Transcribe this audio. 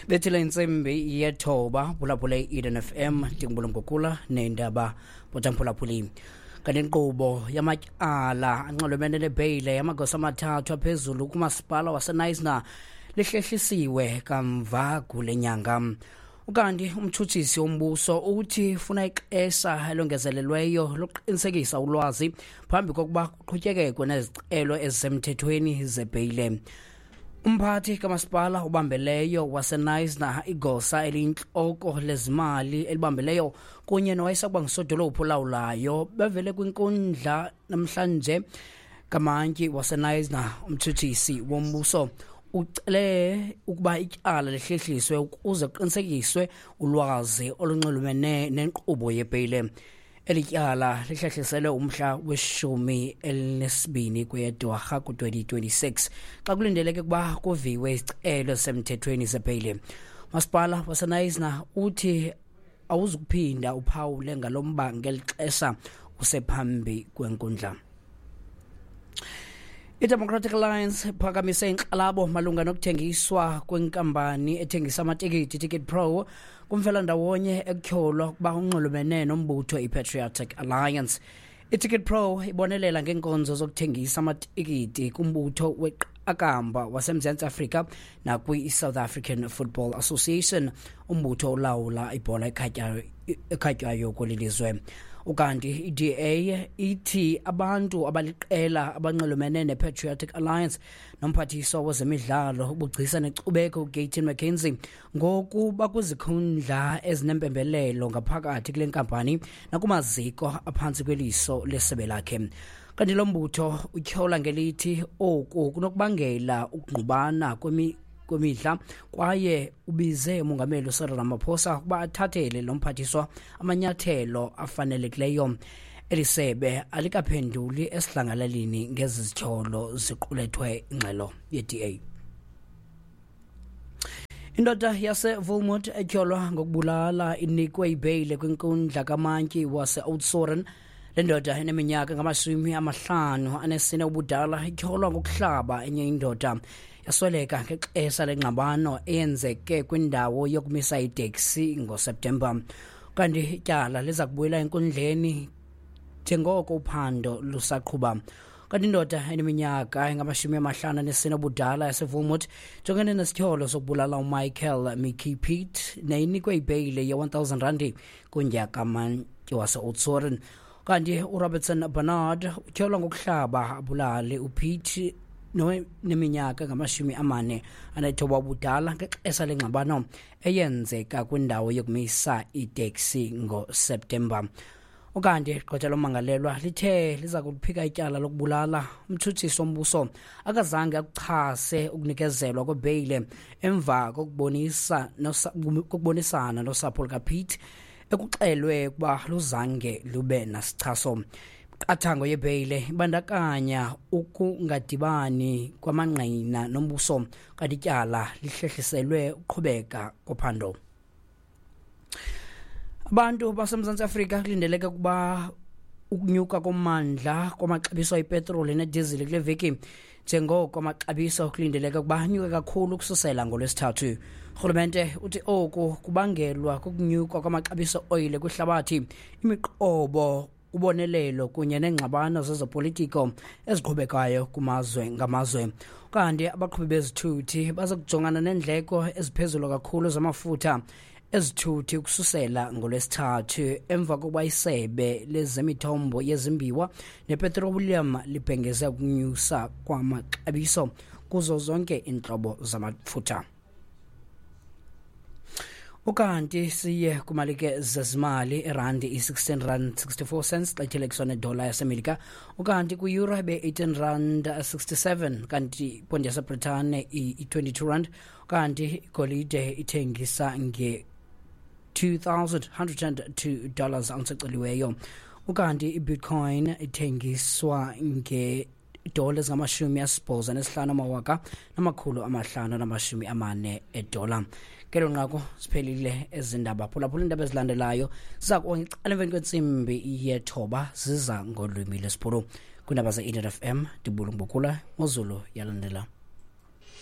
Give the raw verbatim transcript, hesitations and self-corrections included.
Bethile intsimbi yethoba, phulaphula i-Eden F M, ndingubulungukula neendaba botamphulaphuli. Kanti inkqubo yamatyala anxulumene nebheyile yamagosa amathathu aphezulu kumasipala waseKnysna lihlehlisiwe kamva kule nyanga. Ukanti umtshutshisi wombuso uthi ufuna ixesha elongezelelweyo lokuqinisekisa ulwazi phambi kokuba kuqhutyekekwe nezicelo ezisemthethweni zebheyile. Umphathi kamasipala ubambeleyo waseKnysna, igosa eliyintloko lezimali elibambeleyo kunye nowayesakuba ngusodolophu olawulayo bevele kwinkundla namhlanje kamantyi waseKnysna. Umtshutshisi wombuso ucele ukuba ityala lihlehliswe ukuze kuqinisekiswe ulwazi olunxulumene nenkqubo yebheyile. Eli tyala lihlehliselwe umhla weshumi elinesibini kweyeDwarha ku-twenty twenty-six xa kulindeleke ukuba kuviwe isicelo semthethweni sebheyile. Masipala waseKnysna uthi awuzukuphinda uphawule ngalo mba ngeli xesha usephambi kwenkundla. I-Democratic Alliance iphakamise inkxalabo malunga nokuthengiswa kwenkampani ethengisa amatikiti Ticket Pro kumfelandawonye ekutyholwa ukuba unxulumene nombutho i-Patriotic Alliance. I-Ticket Pro ibonelela ngeenkonzo zokuthengisa amatikiti kumbutho weqakamba waseMzantsi Afrika nakwi-South African Football Association, umbutho olawula ibhola ekhatywayo kweli lizwe. Ukanti i-D A ithi abantu abaliqela abanxulumene ne-Patriotic Alliance nomphathiswa wezemidlalo, ubugcisa nenkcubeko uGayton McKenzie ngoku bakwizikhundla ezinempembelelo ngaphakathi kule nkampani nakumaziko aphantsi kweliso lesebe lakhe. Kanti lo mbutho utyhola ngelithi oku kunokubangela ukungqubana kwemi kwemidla kwaye ubize umongameli uCyril Ramaphosa ukuba athathele lo mphathiswa amanyathelo afanelekileyo. Eli sebe alikaphenduli esidlangalaleni ngezi zityholo ziqulethwe ingxelo ye-D A. Indoda yaseVolmot etyholwa ngokubulala inikwe ibheyile kwinkundla kamantyi wase-Oudtshoorn. Le ndoda eneminyaka ngamashumi amahlanu anesine ubudala ityholwa ngokuhlaba enye indoda yasweleka ngexesha lengxabano eyenzeke kwindawo yokumisa iteksi ngoSeptemba. Kanti ityala liza kubuyela enkundleni njengoko uphando lusaqhuba. Kanti indoda eneminyaka engamashumi amahlanu anesine ubudala yaseVolmot jongene nesityholo sokubulala uMichael Mickey Pitt neyinikwe ibheyile ye-one thousand randi kunyaka kamantyi wase-Oudtshoorn. Kanti uRobertson Bernard utyholwa ngokuhlaba abulale uPete neminyaka ngamashumi amane anethoba ubudala ngexesha lengxabano eyenzeka kwindawo yokumisa iteksi ngoSeptemba. Ukanti igqwetha lomangalelwa lithe liza kuliphika ityala lokubulala. Umtshutshisi wombuso akazange akuchase ukunikezelwa kwebheyile emva kokubonisa kokubonisana nosapho lukaPete ekuxelwe ukuba luzange lube nasichaso. Iqathango yebheyile ibandakanya ukungadibani kwamangqina nombuso, kanti ityala lihlehliselwe ukuqhubeka kophando. Abantu baseMzantsi Afrika kulindeleke ukuba ukunyuka kommandla kwamaxabiso epetroli nedizili kule veki, njengoko amaxabiso kulindeleke ukuba anyuke kakhulu ukususela ngoLwesithathu. Urhulumente uthi oku kubangelwa kukunyuka kwamaxabiso oyile kwihlabathi, imiqobo ubonelelo kunye neengxabano zezopolitiko eziqhubekayo kumazwe ngamazwe. Kanti abaqhubi bezithuthi baza kujongana neendleko eziphezulu kakhulu zamafutha ezithuthi ukususela ngoLwesithathu emva kokuba isebe lezemithombo yezimbiwa nepetroleum libhengeze ukunyusa kwamaxabiso kuzo zonke iintlobo zamafutha. Ukanti siye kumalike zezimali, irandi i-sixteen rand sixty-four cents xa ithelekiswa nedola yaseMelika, ukanti kwi-euro ibe-eighteen rand sixty-seven, kanti iponti yaseBritane i-twenty-two rand, kanti igolide ithengisa nge-two thousand hundred and two dollars ounce eceliweyo. Ukanti iBitcoin ithengiswa nge idola ezingamashumi asibhozo nesihlanu amawaka namakhulu amahlanu namashumi amane edola. Ngelo nqaku siphelile ezindaba. Phulaphula iindaba ezilandelayo ziza kuqala emveni kwentsimbi yethoba, ziza ngolwimi lwesiBhulu. Kwiindaba ze-Eden F M, ndibulungubukula ngozulu yalandela.